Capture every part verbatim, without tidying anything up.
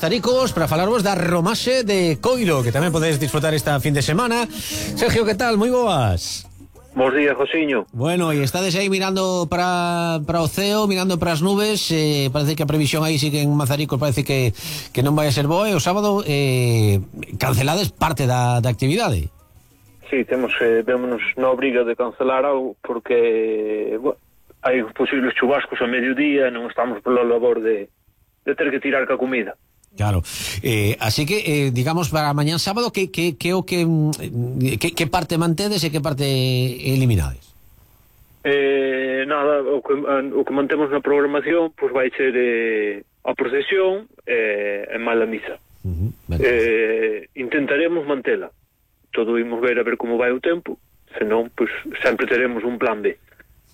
Mazaricos para falarvos da romaxe de Coiro, que tamén podedes disfrutar esta fin de semana. Sergio, que tal? Moi boas. Bos días, Josiño. Bueno, e estades aí mirando para, para o ceo, mirando para as nubes. eh, Parece que a previsión aí sí que en Mazaricos parece que, que non vai a ser boa. E o sábado eh, cancelades parte da, da actividade. Sí, temos, eh, vémonos na obriga de cancelar algo porque bueno, hai posibles chubascos a mediodía, non estamos pola labor de, de ter que tirar ca comida. Claro, eh, así que, eh, digamos, para mañán sábado, que, que, que, o que, que, que parte mantedes e que parte eliminades? Eh, nada, o que, o que mantemos na programación pois vai ser eh, a procesión eh, e mala misa. Uh-huh, eh, intentaremos mantela. Todo imos ver a ver como vai o tempo, senón, pois, sempre teremos un plan B.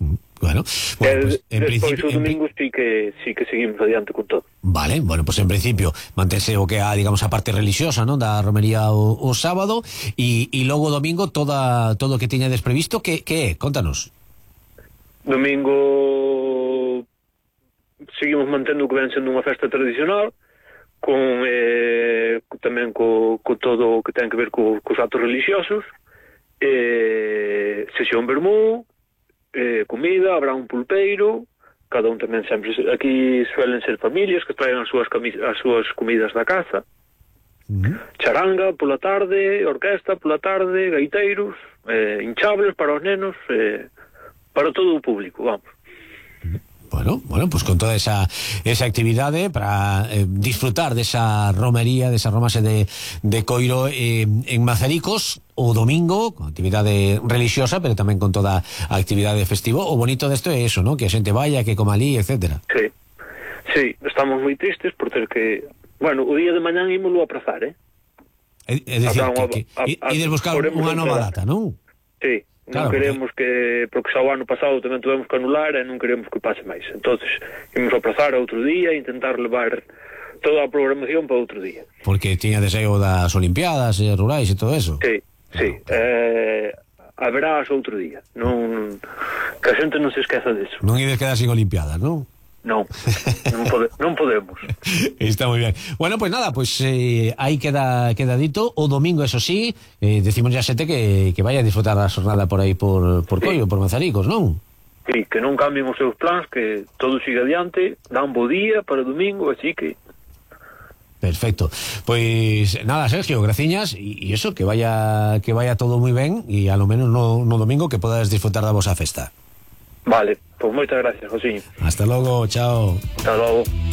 Uh-huh. Bueno, bueno, pues, en despois principio, o domingo en... sí que sí que seguimos adiante con todo. Vale, bueno, pues en principio mantense o que a, digamos, a parte religiosa, ¿no?, da romería o, o sábado e, e logo o domingo toda todo o que tiñades previsto, que, que é? Contanos. Domingo seguimos mantendo o que ven sendo unha festa tradicional con eh, tamén co, co todo o que ten que ver co, cos actos religiosos, eh, sesión vermú, Eh, comida, habrá un pulpeiro, cada un tamén sempre, aquí suelen ser familias que traen as súas, as súas comidas da casa. Uh-huh. Charanga pola tarde, orquesta pola tarde, gaiteiros, eh, hinchables para os nenos, eh, para todo o público, vamos. Bueno, bueno, pues con toda esa esa actividade para eh, disfrutar desa romería, desa romaxe de, de Coiro eh, en Mazaricos o domingo, con actividade religiosa, pero tamén con toda a actividade festivo. O bonito desto é eso, ¿no?, que a xente vaya, que coma ali, etcétera. Sí, sí, estamos moi tristes por ter que... Bueno, o día de mañán ímolo a aprazar, eh? É, é dicir, que, que ides buscar unha nova data, non? Sí. Non claro, queremos que, porque xa o ano pasado tamén tuvemos que anular e non queremos que pase máis. Entonces, imos aplazar a outro día e intentar levar toda a programación para outro día. Porque tiña deseo das Olimpiadas e rurais e todo eso. Sí, sí. Claro, claro. Eh, haberás outro día. Non, que a xente non se esqueza disso. Non ides quedar sin Olimpiadas, non? Non, non, pode, non podemos. Está moi ben. Bueno, pues nada, pues eh, aí queda, queda dito. O domingo, eso sí, eh, decimos ya xente que, que vaya a disfrutar da xornada por aí por, por Coiro, sí, por Mazaricos, non? Sí, que non cambien os seus plans, que todo siga adiante, dan bo día para o domingo, así que... Perfecto. Pois nada, Sergio, graciñas, e eso, que vaya que vaya todo moi ben, e a lo menos no, no domingo que podas disfrutar da vosa festa. Vale, pois moitas gracias, Josiño. Hasta logo, chao. Hasta logo.